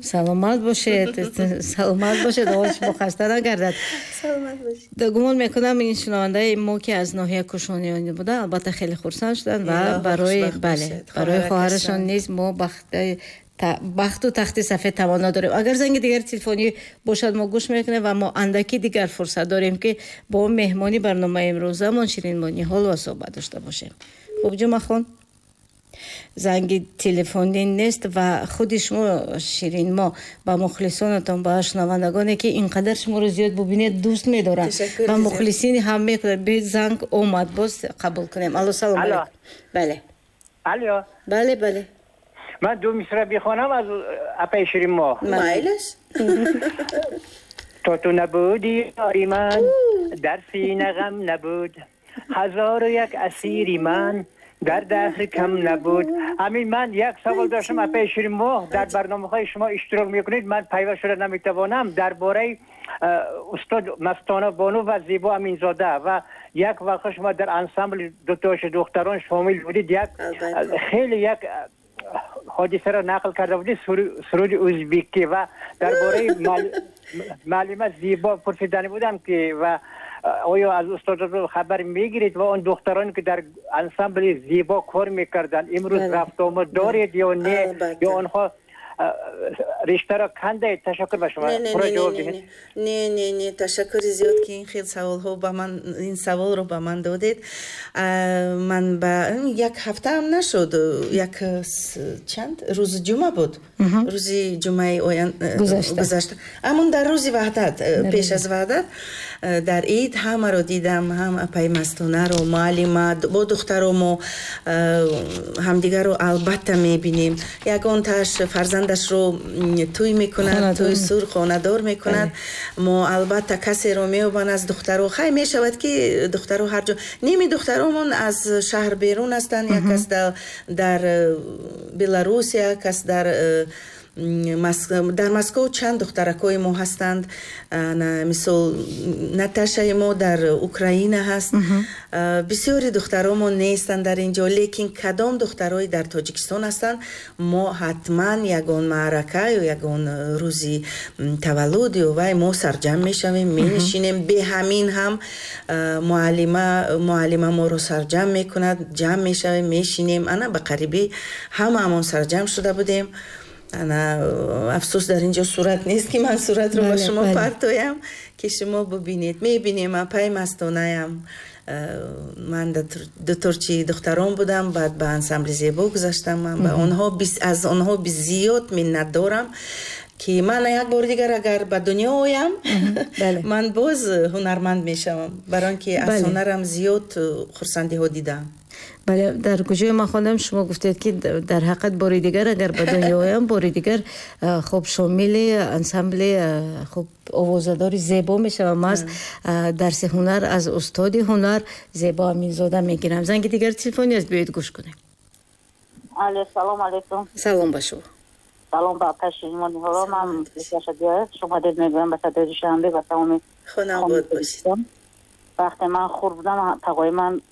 Саломат бошед, саломат бошед, овози шумо хаста нагардад. Саломат бошед. Гумон мекунам, ин шунавандаи мо, ки аз ноҳияи Кушониён буда, албатта хеле хурсанд шуданд ва барои, бале, барои хоҳарашон низ мо бахту тахти сафед таманно дорем. Агар занги дигари телефонӣ бошад, мо гӯш мекунем ва мо андаки дигар фурсат дорем, ки бо меҳмони барномаи имрӯзамон Ширинмо Ниҳолова суҳбат дошта бошем. Хуб, Ҷумъахон, занги телефонӣ нест ва худи шумо, Ширинмо, ба мухлисонатон, ба шунавандагоне, ки ин қадар шуморо зиёд бубинед, дӯст медоранд ва мухлисини ҳам мекунад. Занг омад, боз қабул кунем. Алло, салом алейкум. Бале. Алло. Бале. Ман ду мисра бихонам аз апаи Ширинмо. Майлаш. То ту набудӣ, ёри ман, дар сина ғам набуд, ҳазору як асири ман дар даҳр кам набуд. Ҳамин ман як савол доштам, апаи Ширинмо, дар барномаҳои шумо иштирок мекунед, ман пайваст шуда наметавонам, дар бораи устод Мастона Бону ва Зебо Аминзода ва як вақт шумо дар ансамбли дутоши духтарон шомил будед, як хеле як ҳодисаро нақл карда будед, суруди ӯзбекӣ, ва дар бораи муаллима Зебо пурсидани будам, ки ва оё аз устодотон хабар мегиред ва он духтароне, ки дар ансамбли Зебо кор мекарданд, имрӯз рафтуомад доред ё не, ё онҳо риштаро кандаед? Ташаккур ба шумо. Не, не, не, ташаккури зиёд, ки ин хел саволҳо ба ман, ин саволро ба ман додед. Ман ба як ҳафтаам нашуд, як чанд рӯзи ҷумъа буд, рӯзи ҷумъаи гузашта, ҳамон дар рӯзи Ваҳдат, пеш аз Ваҳдат, дар ид ҳамаро дидам, ҳам апаи Мастонаро, муаллима бо духтаро. Мо ҳамдигарро албатта мебинем. Ягонтааш фарзандашро тӯй мекунад, тӯй сур, хонадор мекунад, мо албатта касеро меёбанд аз духтаро. Хай, мешавад, ки духтаро ҳар ҷо, ними духтаромон аз шаҳр берун ҳастанд, як кас дар Беларус, як кас дар Москов, чанд духтаракҳои мо ҳастанд. Мисол, Наташаи мо дар Украина ҳаст. Бисёри духтаромон нестанд дар ин ҷо, лекин кадом духтарои дар Тоҷикистон ҳастанд, мо ҳатман ягон маърака ё ягон рӯзи таваллуд ё вай мо сарҷамъ мешавем, менишинем. Бе ҳамин ҳам муаллима моро сарҷамъ мекунад, ҷамъ мешавем, мешинем. Ана ба қарибӣ ҳамаамон сарҷамъ шуда будем. Ана, афсӯс, дар ин ҷо сурат нест, ки ман суратро ба шумо партоям, ки шумо бубинед. Мебинем апаи Мастонаям. Ман дуторчи духтарон будам, баъд ба ансамбли Зебо гузаштам. Ман ба онҳо, аз онҳо зиёд миннат дорам, ки ман як бори дигар агар ба дунё оям, ман боз ҳунарманд мешавам, барои он ки аз ҳунарам зиёд хурсандиҳо дидам. Бале, дар куҷое ман хондам, шумо гуфтед, ки дар ҳақиқат бори дигар агар ба дунё оям, бори дигар, хуб, шомили ансамбли, хуб, овозадори Зебо мешавам, аз дарси ҳунар аз устоди ҳунар Зебо Аминзода мегирам. Занги дигар телефони аст, биёед гӯш кунем. Алло, салом алейкум. Салом ба шумо. Салом ба апаи Ширинмо Ниҳолова. Ман шумо дед мегӯям ба садои Душанбе, ба тамоми Хонабод бошед. Вақте ман хурд будам, тағои ман